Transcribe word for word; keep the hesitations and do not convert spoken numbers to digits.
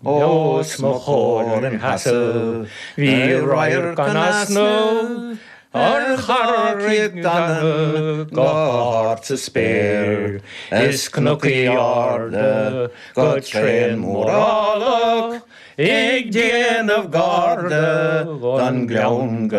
Os mo chomhair ina sheasamh bhí radharc in easnamh ar Charraig Danann go hard sa spéir is cnocaí arda go tréan mórálach ag déanamh garda don ghleann go